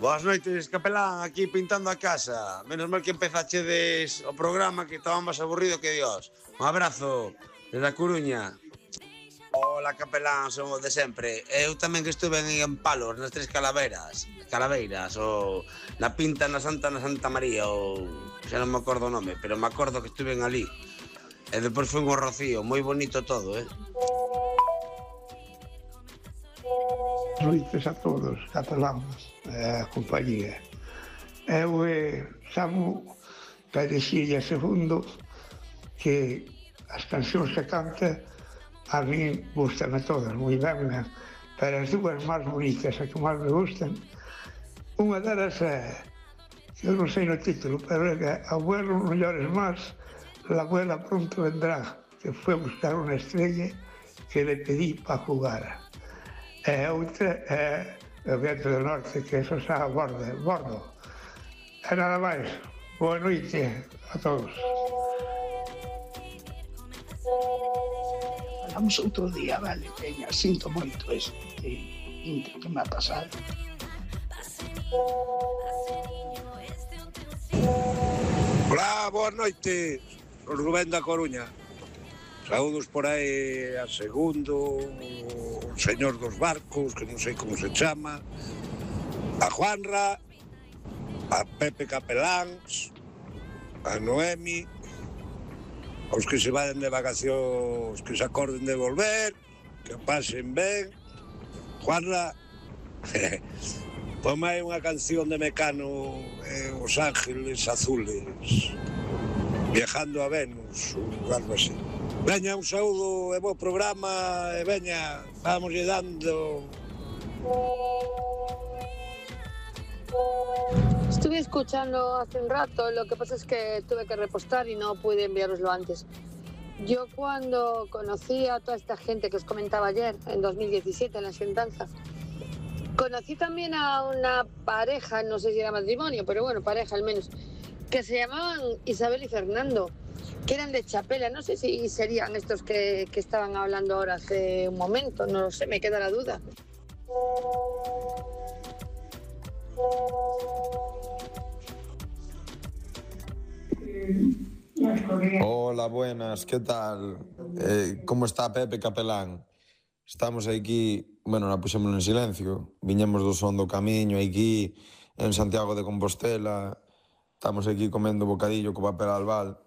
Boas noites, capelán, aquí pintando a casa. Menos mal que empezachedes o programa, que estaba máis aburrido que Dios. Un abrazo desde a Coruña. Hola, capelán, somos de sempre. Eu tamén que estuve en Palos, nas Tres Calaveiras, ou na Pinta na Santa María, ou xa non me acordo o nome, pero me acordo que estuve ali. E depois foi un Rocío, moi bonito todo, Noites a todos, cataláns, a compañía. Eu chamo Pedexilla II, que as cancións que canta a mí gustan a todas, moi ben, pero as dúas máis bonitas, as que máis me gustan, unha delas que eu non sei no título, pero é que Abuelo no llores más, la abuela pronto vendrá, que foi buscar unha estrella que le pedí para jugar. E outra é o Viento do Norte, que eso xa bordo. E nada máis. Boa noite a todos. Falamos outro día, vale, veña, sinto moito este intro que me ha pasado. Hola, boas noites, o Rubén da Coruña. Saúdos por aí a Segundo, o señor dos barcos, que non sei como se chama, a Juanra, a Pepe Capeláns, a Noemi, aos que se vayan de vacacións, que se acorden de volver, que pasen ben. Juanra, ponme aí unha canción de Mecano, Os Ángeles Azules, Viajando a Venus, ou algo así. Veña, un saúdo e bo programa, e veña, vamos lle dando. Estuve escuchando hace un rato, lo que pasa es que tuve que repostar y no pude enviároslo antes. Yo cuando conocí a toda esta gente que os comentaba ayer, en 2017, en la Xuntanza, conocí también a una pareja, no sé si era matrimonio, pero bueno, pareja al menos, que se llamaban Isabel y Fernando, que eran de Chapela. No sé si serían estos que estaban hablando ahora hace un momento, no lo sé, me queda la duda. Hola, buenas, ¿qué tal? ¿Cómo está Pepe Capelán? Estamos aquí, bueno, la puxemos en silencio, viñemos do son do camiño aquí en Santiago de Compostela, estamos aquí comendo bocadillo co papel albal.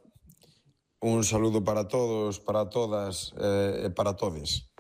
Un saludo para todos, para todas e para todes.